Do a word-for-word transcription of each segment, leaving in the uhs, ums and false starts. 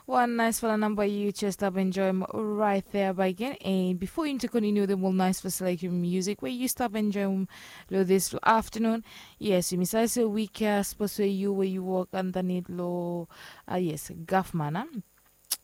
Wan naisfala namba yu jes stap enjoim rait thea bagen. And bifo yumi tu kontiniu wetem ol naisfala selection musik we yu stap enjoim long dispela aftanun, yes, yumi save se wik ya sapos we yu we yu wok andanit long, a yes, gavman a,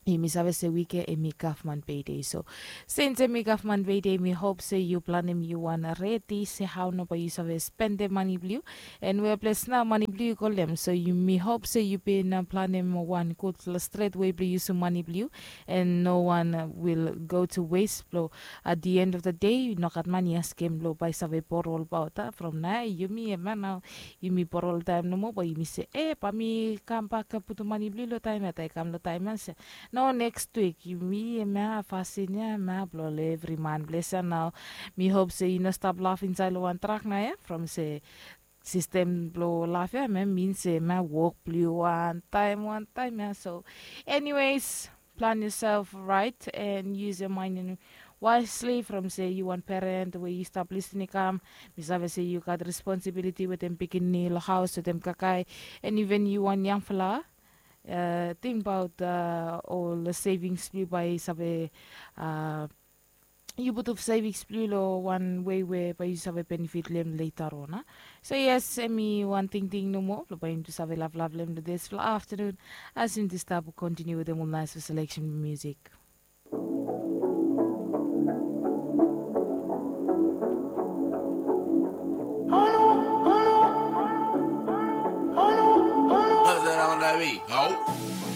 yumi save se wik ya em i gavman peide. So sins em i gavman peide, mi hop se yu planim yu wan redi se hau nao bae yu save spendem mani blong yu, and wea ples nao mani blong yu i go long em. So yumi hop se yu bin planim wan gudfala stret wei blong yusum mani blong yu, and no wan wil go to wes blong at the end of the day no gat mani askem blong bae save boro olbaot. A from nao yumi em ya nao, yumi boro oltaem nomo bae yumi se, e bae mi kambak putum mani blong yu long taem ya, taem i kam long taem ya se, no, neks wik yumi em ya fasin ya em ya blong ol evri man blong ese nao. Mi hop se yu no stap laf insaed long wan trak nao ya from se sistem blong laf ya em ya min se em ya wok blong yu wantaem wantaem ya. So anyways, plan yourself right and use your mind and wisely from se yu wan peren we yu stap lisin i kam, mi save se yu gat responsibiliti wetem pikinini long haus wetem kakae, and even yu wan yangfala, uh, tingbaot uh, ol savings blong yu bae save uh, yu putum savings blong yu long wan wei we bae yu save benefit long em later on a. So yes, em i wan tingting nomo blong bae yumi tu save lavlav long em long dispela aftanun, as yumi tu stap kontiniu wetem ol naisfala selection musik.